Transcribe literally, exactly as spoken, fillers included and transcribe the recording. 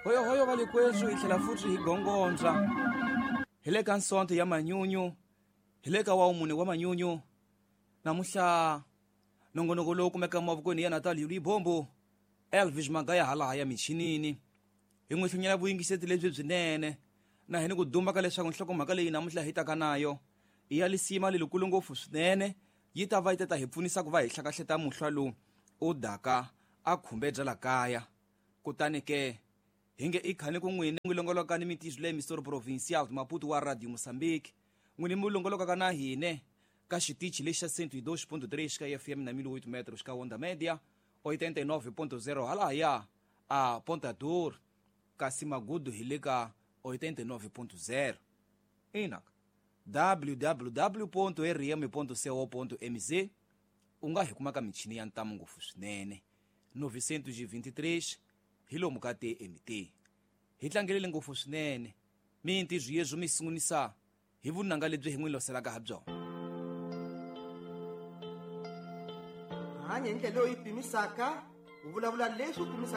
Hoyohoyo valikweswo hi tlhela futhi hi gongondza hi le ka nsonto ya manyunyu, hi le ka wa mune wa manyunyu. Namuhla nongonoko lowu kumeka mavokweni ya Natal Libombo, Elvis Magaya halaha ya michinini. Hi n'wi hlunyela vuyingiseti lebyi byinene na hi ni ku duma ka leswaku nhlokomhaka leyi namuntlha hi taka nayo i ya lisima lelikulu ngopfu swinene, yi ta va yi ta hi pfunisa ku va hi hlakahleta muhlwa lowu u daka a khumbe bya la kaya. Kutani ke hi nge i khani ku n'wini n'wi longoloka ni mitizo leyi Misoro Provincial Maputo wa Radio Mozambique, n'wini mi longolokaka na hine ka xitichi lexi xa cento e dois ponto três ka F M na mil oito metros ka Onda Média oitenta e nove ponto zero halahaya a Ponta Dor, kasi Magudu hi le ka oitenta e nove ponto zero. Ina w w w ponto r m ponto co ponto m z u nga hi kuma ka michini ya ntamu ngopfu swinene novecentos e vinte e três hi lomu ka T M T. Hi tlangelele ngopfu swinene mintirho yezwo mi sungulisa hi vunanga lebyi hi n'wi loselaka ha byona. Hanya hi ndlela leyi pimisaka, u vulavula leswi u pimisaka.